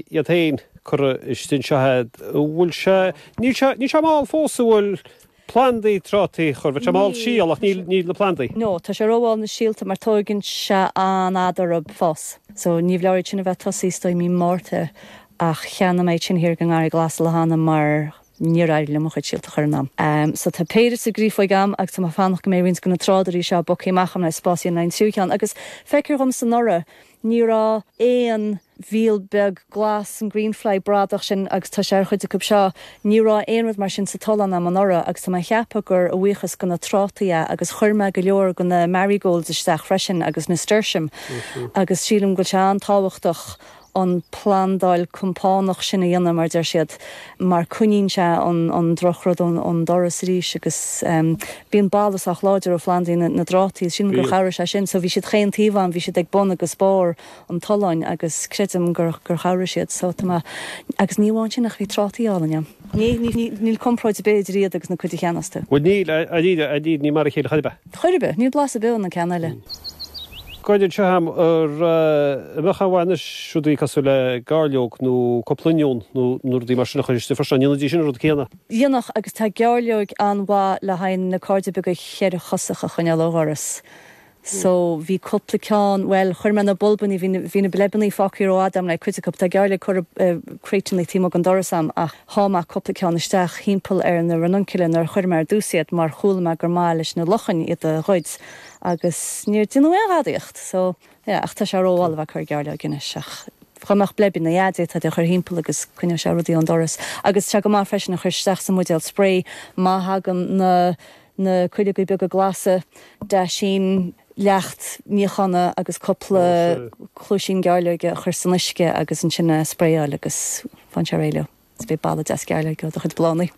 iad féin curtha istigh anseo a'd. An bhfuil sé, níl sé, níl sé mall fós an bhfuil plandaí trátaí a chur, bheadh sé mall síol ach níl, níl na plandaí. No, tá sé rómhall na síolta mar tóigeann sé an-fhad orthu fás. So ní leor iad sin a bheith tosaithe is dóigh mí Márta ach cheannaigh mé iad sin thiar ag an nGarraí Glas lá cheana mar níor éirigh liom mo chuid síolta a chur in am. So tá péire sa gcréafóig a'm agus tá mé ag fanacht go mbeidh roinnt de na trádairí seo bogtha amach a'm le spás a dhéanamh le haghaidh an tríú ceann agus feictear dhomsa anuraidh Ní raibh aon mhíol beag glas, an greenfly bradach sin, agus tá sé ar chuid acu seo, ní raibh aon rud mar sin sa tollán a'm anuraidh agus tá mé a cheapadh gur a bhuíochas go na trátaí é agus chuir mé go leor go na marigolds isteach freisin agus nasturtium agus sílim go bhfuil sé an-tábhachtach an plandáil compánach sin a dhéanamh, mar a deir siad, mar coinníonn sé an drochrud ón doras arís agus bíonn boladh sách láidir ó phlandaí na dtrátaí. Sílim gur chabhraigh sé sin. So bhí siad chaon taobh a'm, bhí siad ag bun agus barr an tolláin agus creidim gur chabhraigh siad. So tá mé, agus ní amháin sin ach bhí trátaí álainn a'm. Ní, ní, níl comparáid ar bith idir iad agus na cuid a cheannós tú. Bhuel níl, níl, ní mar a chéile chor ar bith. Chor ar bith, níl blas ar bith ó na ceanna eile. Gairde anseo a'm ar an mbeadh aon mhaith anois rudaí cosúil le gairleog nó cúpla oinniún nó nó rudaí mar sin a chur istigh freisin, an ndéanfaidís sin an rud céanna? Dhéanfadh, agus tá gairleoig an-mhaith le haghaidh na cairde beaga cheithrechosacha a choinneáil ó dhoras. So, bhí cúpla ceann, bhuel, chuir mé na bulbannaí, bhí na, bhí na bleibeannaí fágtha rófhada a'm le cuid acu, tá gairleog curtha i crateannaí taobh amuigh den doras a'm ach sháigh mé cúpla ceann isteach thimpeall ar na ranunculi nuair a chuir mé ar dtús iad mar chuala mé gur maith leis na luchain iad a ghoid agus níor déanadh aon ghadaíocht so yeah ach tá sé rómhall a bheith ag cur gairleoige anois ach dá mbeadh bleibeanna yeah d'fhéadfá iad a chur thimpeall agus coinneoidh sé rudaí ón doras agus tá sé go maith freisin a chur isteach sa mbuidéal spray má thagann na na cuileogaí beaga glasa, deaisín leacht níochána agus cúpla cluaisín gairleoige a chur san uisce agus ansin a spraeáil agus faigheann sé réidh leo. Is beidh boladh deas gairleoige ó do chuid bláthanna.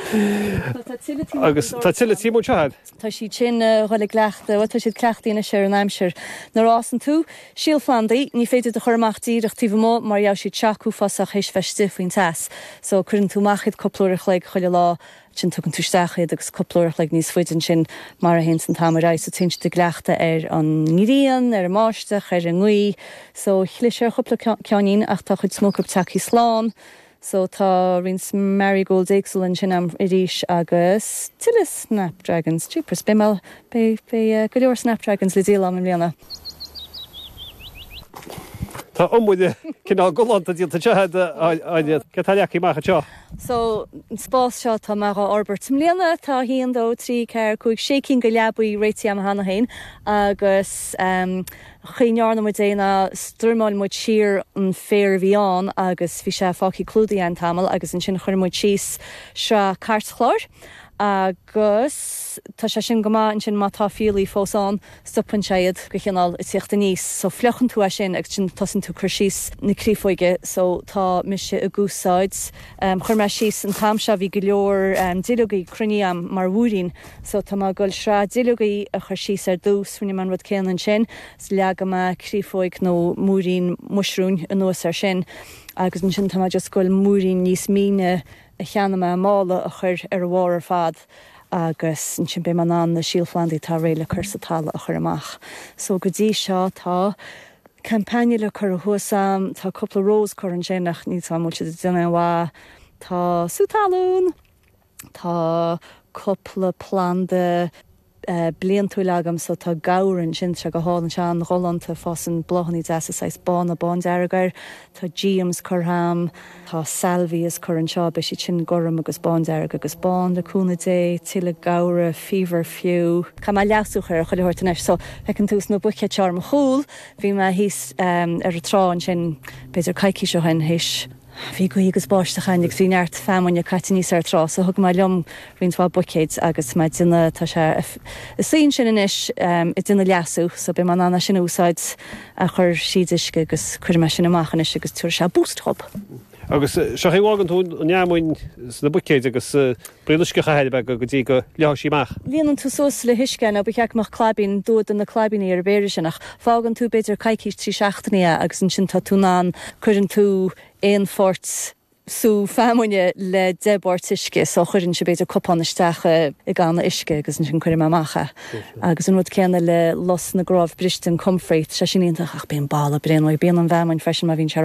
Agus tá tuilleadh taobh amuigh anseo a'd. Tá siad sin a dhul i gcleachtadh, bhuel tá siad cleachtaithe anois ar an aimsir. Nuair a fhásann tú síolphlandaí, ní féidir iad a chur amach díreach taobh amuigh mar gheobhaidh siad shock uafásach théis bheith istigh faoin teas. So cuireann tú amach iad cúpla uair a chloig chuile lá Ansin tugann tú isteach iad agus cúpla uair a chloig níos faide ansin mar a théanns an t-am ar aghaidh so téann siad i gcleachtadh ar an ngrian, ar an mbáisteach, ar an ngaoth. So chlis ar chúpla ceainnín ach tá chuid is mó acu tagthaí slán. So tá roinnt marigolds éagsúla ansin a'm arís agus tuilleadh snapdragons. Jeepers, beidh mé, beidh, beidh go leor snapdragons le díol a'm i mbliana. Tá iomaire cineál galánta déanta anseo a'd, Áine. Céard atá leagtha amach anseo? So, an spás seo tá mé dhá fhorbairt i mbliana, tá a haon, dó, trí, ceathair, cúig, sé cinn de leabaí réitithe agam cheana féin agus an chaoi a ndearna muid é ná struimeáil muid siar an féar a bhí ann agus bhí sé fágtha clúdaithe againn tamall agus ansin chuir muid síos sraith cairtchláir agus tá sé sin go maith ansin má tá fiailí fós ann, stopann sé iad go chineál ag tíocht aníos so fliuchann tú é sin agus ansin tosaíonn tú ag cur síos na créafóige so tá mise ag úsáid chuir mé síos an t-am seo bhí go leor duilleogaí cruinnithe a'm mar mhúirín so tá mé ag dul sraith duilleogaí a chur síos ar dtús rinne mé an rud céanna ansin is leagfaidh mé créafóig nó múirín muisriúin anuas ar sin agus ansin tá mé just ag dul múirín níos míne a cheannaigh mé i mála a chur ar a bharr ar fad agus ansin beidh mé in ann na síolphlandaí atá réidh le cur sa talamh a chur amach. So go dtí seo tá campanula curtha thuas a'm, tá cúpla rose curtha ansin ach níl 's a'm an bhfuil siad ag déanamh aon mhaith, tá sú talún, tá cúpla planda bliantúil agam so tá gabhar ansin, tá sé go hálainn, sé an-ghalánta, fásann bláthanna deasa saghas bána bándearg air, tá geums curtha a'm, tá salvias curtha anseo, beidh siad sin gorm agus bándearg agus bán le cúnamh Dé, tuilleadh gabhra, feverfew. Caithfidh mé leasú a chur ar chuile shórt anois so feiceann tú sna buicéid seo ar mo chúl, bhí mé thíos ar an trá ansin b'fhéidir coicís ó shin théis Bhí gaoth agus báisteach ann agus bhí neart feamainne caite aníos ar an trá so thug mé liom roinnt mhaith buicéid agus tá mé ag déanamh, tá sé ag suí ansin anois ag déanamh leasú so beidh mé in ann é sin a úsáid a chur thríd uisce agus cuirfidh mé sin amach anois agus tabharfaidh sé boost dhób. Agus seo chaoi a bhfágann tú an fheamainn sna buicéid agus braon uisce a chaitheamh uirthi go dtí go leáfaidh sí amach. Líonann tú suas le huisce é, nó ba cheart go mbeadh claibín, dua de na claibíní ar an bpéire sin, ach fágann tú b'fhéidir coicís, trí seachtainí é agus ansin tá tú in ann, cuireann tú aon pháirt. Sú feamainne le 10 bpáirt uisce, so chuirinnse b'fhéidir cupán isteach i gcanna uisce agus ansin cuirim amach é. Agus an rud céanna le lus na gcnámh briste, an comfrey, tá sé sin iontach ach bíonn boladh bréan uaidh, bíonn an bhfeamainn freisin má bhíonn sé.